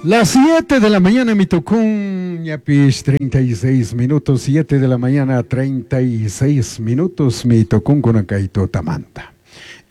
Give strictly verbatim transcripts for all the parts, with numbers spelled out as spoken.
Las siete de la mañana, mi tocún, ñapish treinta y seis minutos, siete de la mañana, treinta y seis minutos, mi tocún con tamanta.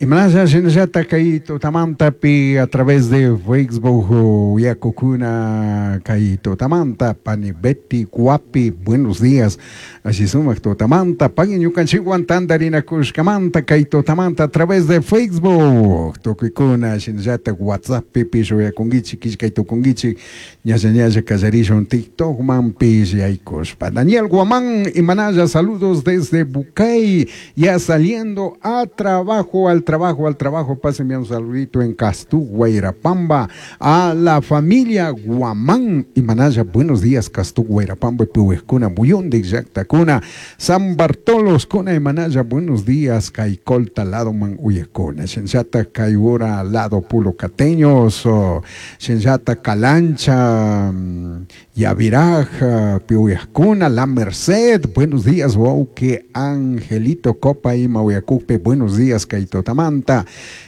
Imanalla shinallata kay tutamantapi a través de Facebook yakukuna kay tutamanta pani Betty Guapi, buenos días, así sumak tutamanta pagui ñukanchikwan tantarinakushkamanta kay tutamanta a través de Facebook tukuykuna, shinallata WhatsApp pipish uyakunkichik, killkay tukunkichik, ñalla ñalla kallarishun TikTokmanpish yaykushpa. Daniel Guamán, imanalla, saludos desde Bucay, ya saliendo a trabajo, al trabajo, al trabajo. Pásenme un saludito en Castú, Guairapamba, a la familia Guamán y Manaya. Buenos días, Castú, Guairapamba, Pihuescuna, Muyundi, Yactacuna, San Bartolos, Cuna y Manaya. Buenos días, Caicolta, lado man Uyecuna, Shenchata, Caibura, lado Pulo Cateños, Shenchata, Calancha, Yaviraja, Pihuescuna, La Merced. Buenos días, que Angelito Copa y Mauyacupe, buenos días, Caito Tamanta.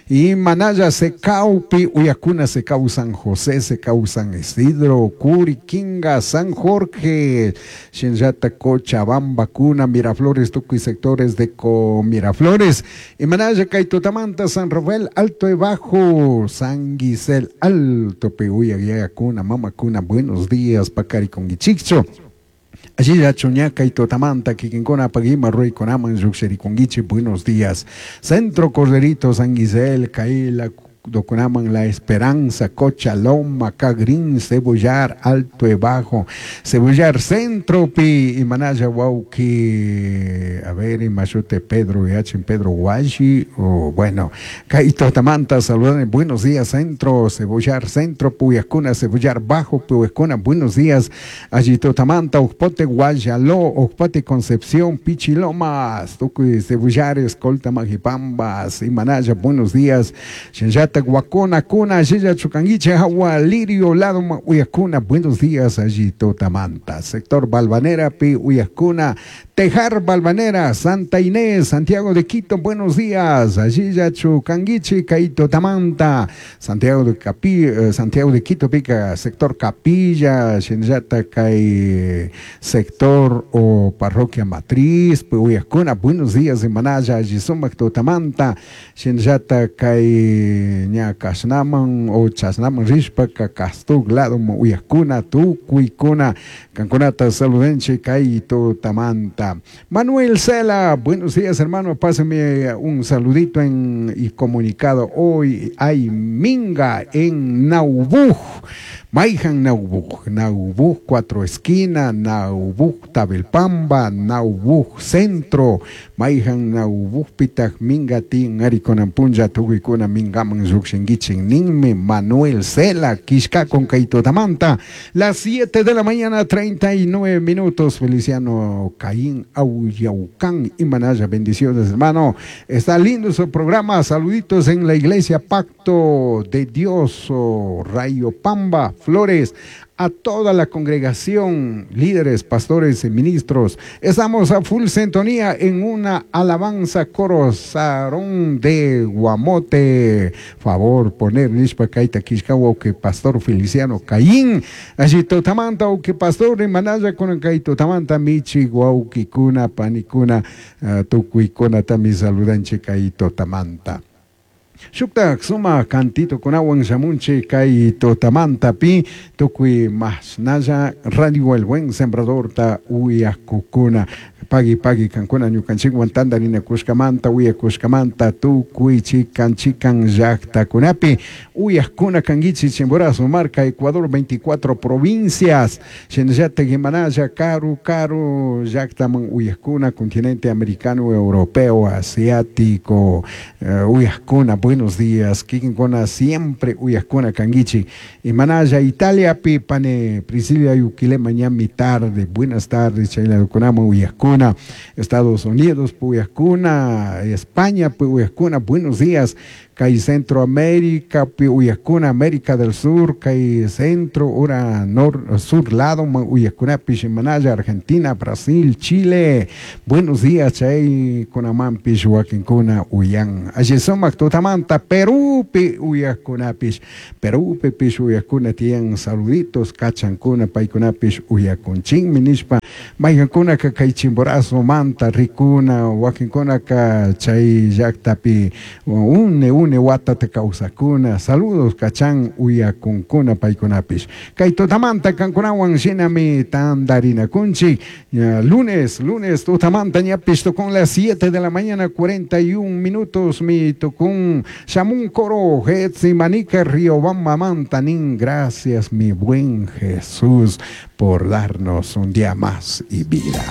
Y Manaya Secaupi, Uyacuna Secau San José, Secau San Isidro, Curiquinga, San Jorge, Shinyata Cochabamba, Cuna, Miraflores, Tucu y sectores de Co Miraflores. Y Manaya Caitotamanta, San Rafael, Alto y Bajo, San Guisel, Alto, Pehuya, Cuna, Mama Cuna, buenos días, Pacari con Guichicho. Allí ya Chuñaca y Totamanta, Kikinkona, Paguima, Rui, Conaman, Yuxericonguichi, buenos días. Centro Corderito, San Guisel, Caila, Docunaman, La Esperanza, Cochaloma, Cagrín, Cebollar, Alto y Bajo, Cebollar, Centro, Pi, y Manaya, Wauki, a ver, y Mayute Pedro, y H. Pedro Guayi, o bueno, Caito Tamanta, saludan, buenos días, Centro, Cebollar, Centro, Puyascuna, Cebollar Bajo, Puyascuna, buenos días, allí Totamanta, Ujpote, Guayaló, Ujpote, Concepción, Pichilomas, Tucuy, Cebollares, Colta, Majipambas, y Manaya, buenos días, Shenyata, Guacona, Cuna, Yeya, Chucanguiche, Agua, Lirio, Lado, Uyascuna, buenos días, allí Totamanta, sector Balvanera, Pi, Uyascuna, Tejar, Balvanera, Santa Inés, Santiago de Quito, buenos días, allí Chucanguiche, Caito Tamanta, Santiago de Capi, eh, Santiago de Quito, Pica, sector Capilla, Shenyata, Cay, sector o parroquia Matriz, Uyascuna, buenos días, Manaya, allí Sumac, Totamanta, Shenyata, Cay, ña kasnaman o chasnaman rishpaka Castug lado uyakuna tukuykuna kankunata saludenche kay tamanta. Manuel Cela, buenos días, hermano, pásame un saludito en y comunicado, hoy hay minga en Naubuj. Maijan Naubuj, Naubuj Cuatro Esquina, Naubuj Tabelpamba, Naubuj Centro, Maijan Naubuj Pitaj Minga Tin Arikonampunja Tukuykuna Mingaman Yukshinguichin Ninme Manuel Cela, Quishka con Kaito Tamanta, las siete de la mañana, treinta y nueve minutos, Feliciano Caín Auyaucán y Manaya, bendiciones, hermano, está lindo su programa, saluditos en la iglesia Pacto de Dios, oh, Rayo Pamba, Flores, a toda la congregación, líderes, pastores y ministros. Estamos a full sintonía en una alabanza coro Sarón de Guamote. Favor poner nishpa kaita kishkawa que pastor Feliciano Caín. Allí totamanta o que pastor manaya con kaito tamanta michi guauquicuna panicuna uh, tukuikuna tami saludanche kaito tamanta. Shuktak suma cantito kunawan shamunchi kay totamanta pi tukuy masnalla Radio El Buen Sembrador ta uyakukuna pagui pagui kankuna ñukanchikwan tantarinakushkamanta uyakushkamanta tukuy chikan chikan llaktakunapi uyakuna kankichik Chimborazo marca, Ecuador, veinticuatro provincias, shinallatak imanalla karu karu llaktaman uyakuna, continente americano, europeo, asiático, uh, uyakuna, buenos días, kikinkuna siempre uyakuna kankichik. Imanalla Italia pi pane Priscila Yuquilema, ñami tarde, buenas tardes, chaylakunaman uyakuna, Estados Unidos, Puyascuna, España, Puyascuna, buenos días. Kay Centroamérica pi uyakuna América del Sur kay centro ura nor sur lado uyakunapish manalla Argentina, Brasil, Chile. Buenos días chay kunamanpish wakinkuna uyan. Alli sumak tutamanta Perúpi uyakunapish Perúpipish uyakuna tiyan saluditos kachankuna paykunapish uyakunchinmi nishpa maykankunaka kay Chimborazo manta rikuna wakinkunaka chay llaktapi une une watata kawsakuna saludos kachan uyakunkuna paykunapish kay tutamanta kankunawan shinami tandarinakunchik lunes lunes tutamanta ñapish tukun las siete de la mañana cuarenta y un minutos mi tukun shamun coro Manica Riobamba Mantanín gracias mi buen Jesús por darnos un día más y vida.